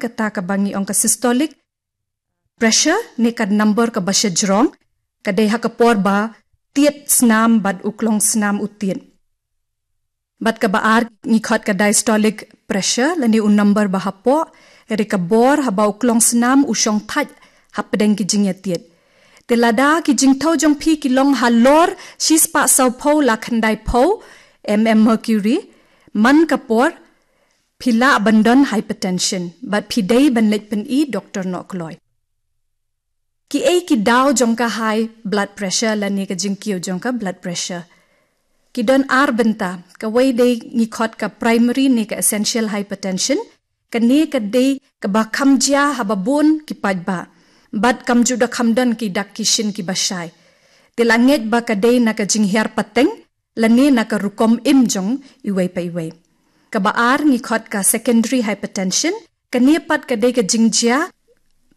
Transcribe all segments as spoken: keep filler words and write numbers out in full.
kata kaba ngi ong ka systolic pressure ne ka number kaba shajrong, ka dei ha ka por ba tied snam bad u klong snam u tied. Bad kaba ar ngi khot ka diastolic pressure lane u number ba hapoh, ka dei ka bor haba u klong snam u shong thait hapdeng ki jingïatied. Te lada ki jingthew jong phi ki long halor shispah sawphew la khyndai phew mm mercury man ka por, phi lah ban don hypertension bad phi dei ban leit pyni doktor noh kloi. Ki ei ki daw jong ka high blood pressure lane ka jingkiew jong ka blood pressure? Ki don ar bynta. Kawei dei ngi khot ka primary ne ka essential hypertension. Kane ka dei kaba kham jia haba bun ki paidbah, bad kam ju da kham don ki dak ki shin kiba shai. Te la ngeit ba ka dei na ka jinghiar pateng lane na ka rukom im jong iwei pa iwei. Kaba ar ngi khot ka secondary hypertension. Kane pat ka dei ka jingjia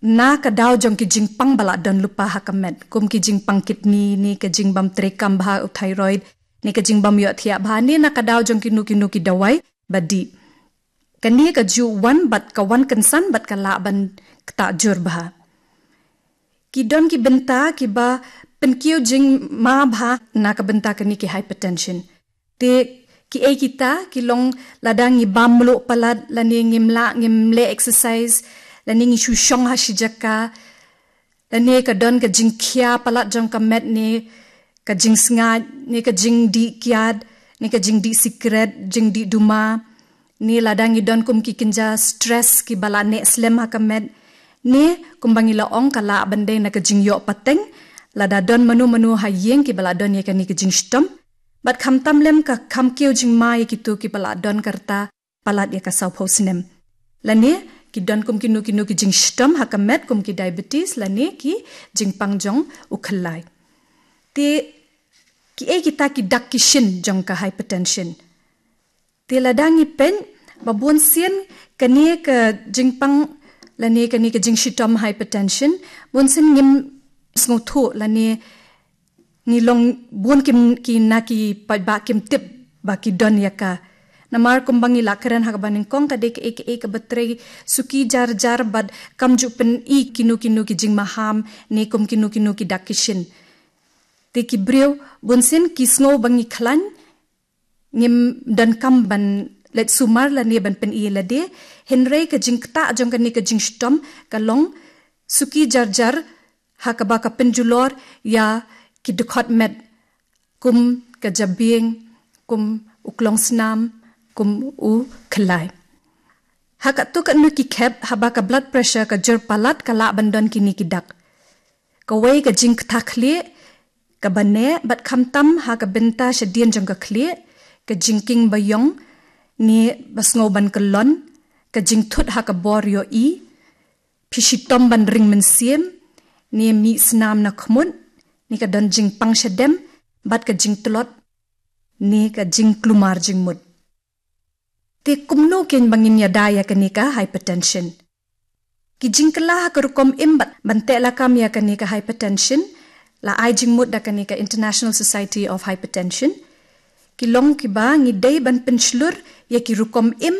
na ka daw jong ki jingpang ba la don lypa ha ka met, kum ki jingpang kidney ne ka jingbym treikam bha u thyroid ne ka jingbym ïohthiah bha ne na ka daw jong kino kino ki dawai ba dih. Kane ka ju wan bad ka wan kynsan bad ka lah ban ktah jur bha. Ki don ki bynta kiba pynkiew jingma bha na ka bynta kane ki hypertension. Te ki ei kita? Ki long lada ngi bam mluh palat lane ngim lah, ngim leh exercise, lane ngi shu shong ha shi jaka, lane ka don ka jingkhia palat jong ka met ne ka jingsngaid ne ka jingdih kiad ne ka jingdih sikret, jingdih duma, ne lada ngi don kum ki kynja stress kiba la neh slem ha ka met, ne kumba ngi la ong ka lah ban dei na ka jingïoh pateng, lada don mano mano ha ïing kiba la don ïa kane ka jingshitom. Bad khamtam lem ka kham kiew jingma ïa kito kiba la don ka rta palat ïa ka sawphew snem. Lane ki don kum kino kino ki jingshitom ha ka met kum ki diabetes lane ki jingpang jong u khyllai. Te ki ei kita ki dak ki shin jong ka hypertension? Te lada ngi peit, ba bun sien kane ka jingpang lane kane ka jingshitom hypertension, bun sien ngim sngewthuh lane ngi long bun kim, ki na ki paidbah kim tip ba ki don ïa ka. Namar kumba ngi la kren ha kaba nyngkong, ka dei ka ei ka ei kaba trei suki jar jar bad kam ju pyni kino kino ki jingmaham ne kum kino kino ki dak ki shin. Te ki briew bun sien ki sngew ba ngi khlaiñ, ngim donkam ban leit sumar lane ban pyni lade. Hynrei ka jingktah jong kane ka jingshitom ka long suki jar jar ha kaba ka pynjulor ïa ki dkhot met, kum ka jabieng, kum u klong snam, kum u khyllai. Ha katto katno ki khep, haba ka blood pressure ka jur palat, ka lah ban don kine ki dak. Kawei, ka jingktah khlieh kaba neh bad khamtam ha ka bynta shadien jong ka khlieh, ka jingkieng ba ïong ne ba sngew ban kyllon, ka jingthut ha ka bor ïohi, phi shitom ban ring mynsiem, ne mih snam na khmut, ne ka don jingpang shadem bad ka jingtlot ne ka jingkulmar jingmut. Te kumno kein ba ngin ïada ïa kane ka hypertension? Ki jingkylla ha ka rukom im bad ban teh lakam ïa kane ka hypertension la ai jingmut da kane ka International Society of Hypertension. Ki long kiba ngi dei ban pynshlur ïa ki rukom im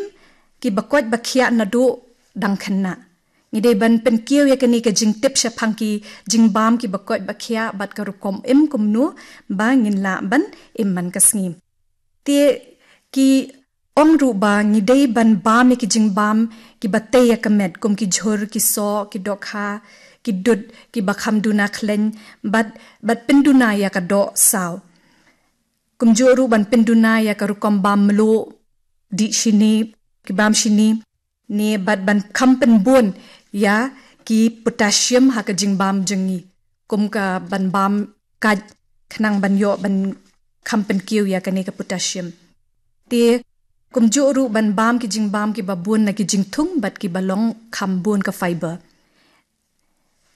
kiba koit ba khiah naduh dang khynnah. Ngi dei ban pynkiew ïa kane ka jingtip shaphang ki jingbam kiba koit ba khiah bad ka rukom im kumno ba ngin lah ban im man ka sngi. Te ki ong ruh ba ngi dei ban bam ïa ki jingbam kiba tei ïa ka met, kum ki jhur, ki soh, ki dohkha, ki dud kiba kham duna khleiñ, bad, bad pynduna ïa ka doh saw. Kumjuh ruh ban pynduna ïa ka rukom bam mluh, dih shini, ki bam shini, ne bad ban kham pynbun ïa ki potassium ha ka jingbam jong ngi, kum ka ban bam kait, khnang ban ïoh ban kham pynkiew ïa kane ka potassium. Te kumjuh ruh ban bam ki jingbam kiba bun na ki jingthung bad kiba long kham bun ka fiber.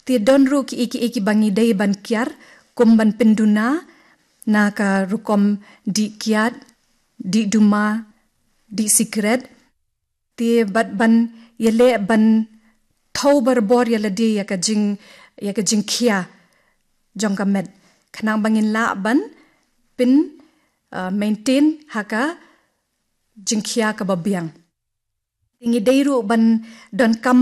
Te don ruh ki ei ki ei kiba ngi dei ban kiar, kum ban pynduna na ka rukom dih kiad, dih duma, dih sikret. Te bad ban ïaleh ban thew barabor ïa lade ïa ka jing, ïa ka jingkhia jong ka met, khnang ba ngin lah ban pyn, uh, maintain ha ka jingkhia kaba biang. Te ngi dei ruh ban donkam